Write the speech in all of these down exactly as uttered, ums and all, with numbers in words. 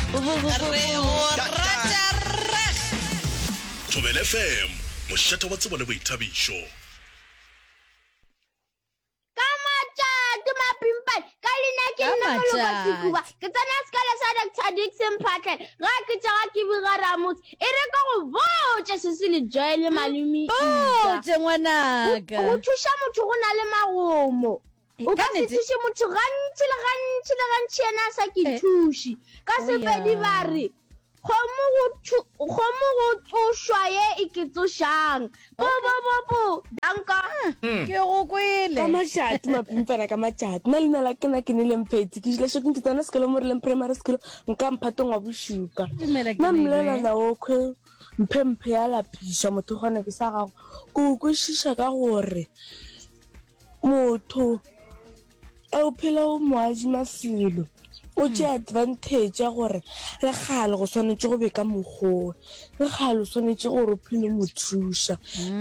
Re go rata reg. Thobela F M, mošate wa tsebo le boithabišo. Ka matšatši mapimpane, ka leina ke Ka nna Moloko matšatši. Sekuba. Ke tsena sekolo sa Doctor Dickson Phatlhe. Ga ke tšega ke biga Ramotse. E re ke go botše sesi le Joy le malome Ika. Mpotše Go, ngwanaka. go thuša motho go na le magomo. E, O ka ka se nnete. thuše motho gantši le gantši le gantši yena a sa ke E, thuše. Ka o Sepedi ya. ba re, Kgomo go thu, kgomo go tsošwa ye e ke tsošang. Po Okay. po po po. Danko. Ke go Ka kwele. matšatši mapimpana ka matšatši nna leina la ke na ke nele Mphetsi ke dula Shokeng ke tsena sekolo mo Releng Primary School nka mphatong wa bošupa Dumela ke nna Neilwe. mmolelwana wokhwe mphe mphe ya lapiša motho gona ke sa gago ke o kwešiša ka gore motho e o phela o mo adima selo o tšea advantage ya gore le kgale go swanetše go be ka mokgowe le kgale o swanetše gore o phele mo thuša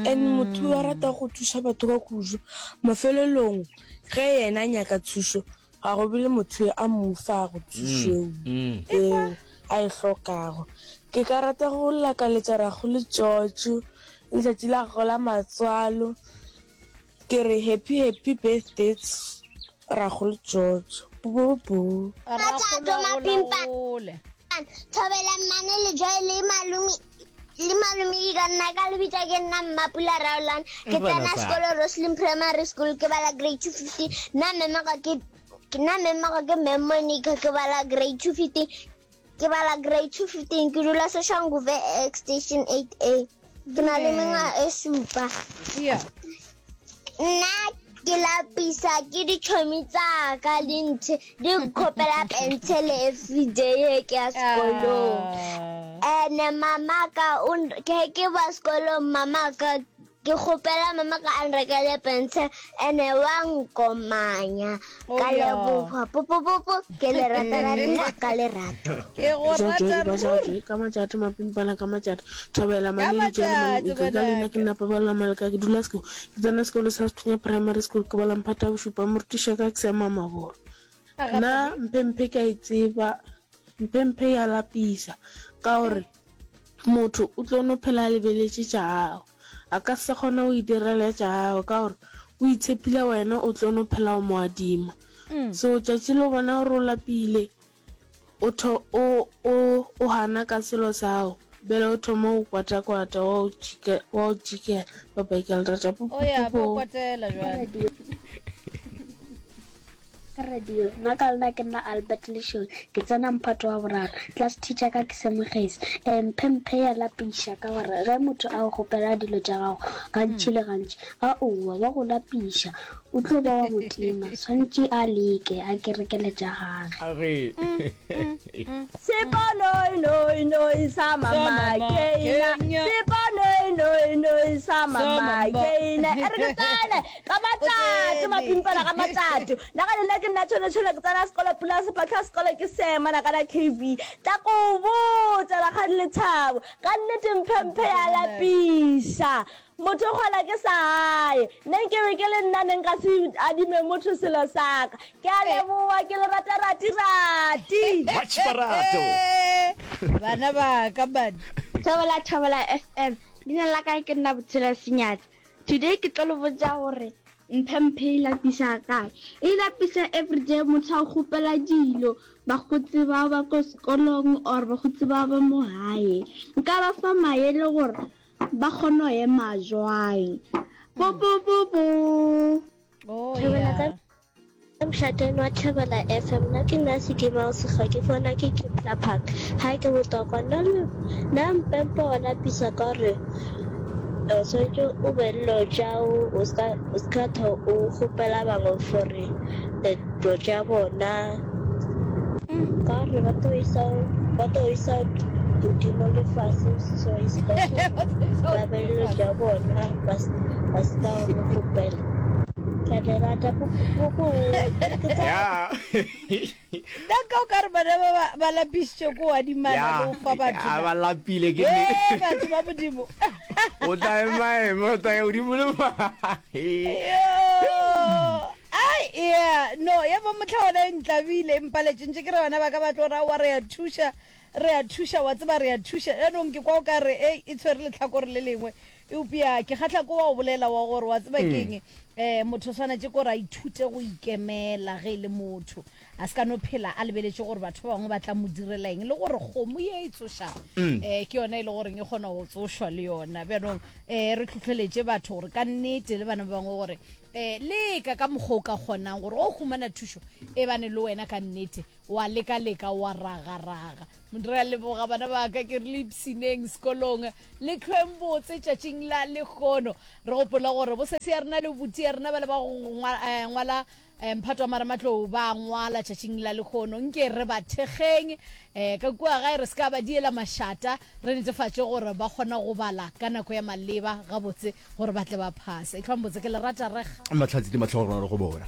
and motho wa rata go thuša batho ka kudu mafelelong ge yena a nyaka thušo ga go be le motho a mo fago thušo eo a e hlokago. Ke ka rata go lakaletša Rakgolo George letšatši la gagwe la matswalo ke re happy happy birthday Rakgolo George. Bo-bo-bo. Matšato Rakgolo mapimpa gole. Thobela mmane le Joy le malome le malome Ika nna ka lebitsa ke nna Mmapula Raolane ke tsena sekolo Roslyn Primary School ke bala grade two fifteen nna mmemego ke ke nna mmemego ke Mme Monica ke bala grade two fifteen ke bala grade two fifteen ke dula Soshanguve Extension eight A ke na le mengwaga e supa. Yeah. Nna ke lapisa ke ditšhomi tsa ka le nthe di nkgopela pentshele everyday he ke ya sekolong. Ah. Ene mama ka o n- ke ke ba sekolong mama ka ke kgopela mama ka a nrekele pentshele ene wa nkomanya. Oh, Ka yeah. leboga po po po po ke le rata rata ka lerato. Ke go rata ruri. Ka matšatši mapimpana ka matšatši thobela Ka malele Joy le matšatši malome Ika ka leina ke ngwanaka. nna Paballo Maleka ke dula sekolo ke tsena sekolo sa Sethunya Primary School ke bala mphata wa bošupa morutiši wa ka ke Seema Mabolo. A Nna gape. mphe mphe ke a e tseba mphe mphe ya lapisa ka gore motho o tlo no phela a lebeletše tša gago a ka se kgone go itirela tša gago ka gore o itshepile wena o tlo no phela o mo adima. Mm. So tšatši le bona gore o lapile o tho o o o hana ka selo sa gago bjale o thoma go kwata-kwata wa o tšhike wa o tšhikela bye-bye ke a le rata po O po ya po ba po. kwatela jwale. Ka radio nna ka lena ke nna Albert Leshole ke tsena mphato wa boraro class teacher ka ke Semogesi. um mphe mphe ya lapiša ka gore ge motho a go kgopela dilo tša gago gantši le gantši a owa wa go lapiša o tlo ba wa motima swantše a leke a ke rekele tša gage. Age. Seponoinoinoi sa Sa mama mama Keina, Kenya. seponoinoinoi sa Sa mama mama. Keina. E re ke tsene ka O matšatši tsene. mapimpana ka matšatši. Nna ka leina ke nna Tšhone-Tšhone ke tsena sekolo Pula Sepatla sekolo ke Sema na kana K V. Tla ko botša rakgadi Lethabo ka nnete mphe mphe ya lapiša. Motho o kgona ke sa gae. Nne nke be ke le nna ne nka se adime motho selo sa ka. Ke a leboga ke le rata rati rati. Much barato. Bana ba ka man. Thobela Thobela F M leina la ka ke nna Botshelo Senyatsi. Today ke tlo le botša gore mphe mphe e lapisa kae. E lapisa everyday motho a kgopela dilo bakgotsi ba ba ko sekolong or bakgotsi ba ba mo gae. Nka ba fa maele gore ba kgone go ema jwang. Po po po po. Oh Thobela ka yeah. mošateng wa Thobela F M nna ke nna Sekima Sekgwa ke fona ke Kepler Park ha ke botokwa nna le nna mpempe wa lapisa ka gore o swanetše o be le dilo tšao o ska o ska tho o kgopela bangwe for dilo tša bona ka gore ba tlo isa ba tlo isa godimo le fase so it's better ba be le dilo tša bona ba s- ba ska go kgopela. Ke a le rata po po po ke tsa Ya. Nna ka o ka re bana ba ba ba lapišitše ko adimana le Ya. go fa batho A na. ba lapile ke Ee nnete. batho ba modimo. O tla ema ema o tla ya godimo le fa. Yo. Ai yeah no ya ba mohla ona e ntlabile e mpaletše ntše ke re bana ba ka ba tlo ra wa re ya thuša Re a thuša, wa tseba, re a thuša. Jaanong ke kwa o ka re, Ei, e tshwere lehlakore le lengwe. Eupša ke kgahla ke wa go bolela wa gore, wa tseba ke eng, um motho o swanetše ke gore a ithute go ikemela ge e le motho. A se ka no phela a lebeletše gore batho ba bangwe ba tla mo direla eng, le gore kgomo ye e tsošago um ke yona e le goreng e kgona go tsošwa le yona. Bjanong um re hlohleletše batho gore ka nnete le bana ba bangwe gore um leka ka mokgwa o ka kgonang gore o humana thušo e bane le wena ka nnete wa leka-leka wa raga-raga. Re a leboga bana ba ka, ke re le ipshineng sekolong le hlweng botse tšatšing la lehono. Re gopola gore bosesi ya rena le buti ya rena ba le ba go ngwala Mphato wa Marematlou ba ngwala tšatšing la lehono. Nke re ba thekgeng ka kua gae, re se ka ba diela mašata, re netefatše gore ba kgona go bala ka nako ya maleba gabotse gore ba tle ba phase. Ehlwang botse, ke le rata reg. Mahlatse le mahlogonolo go bona.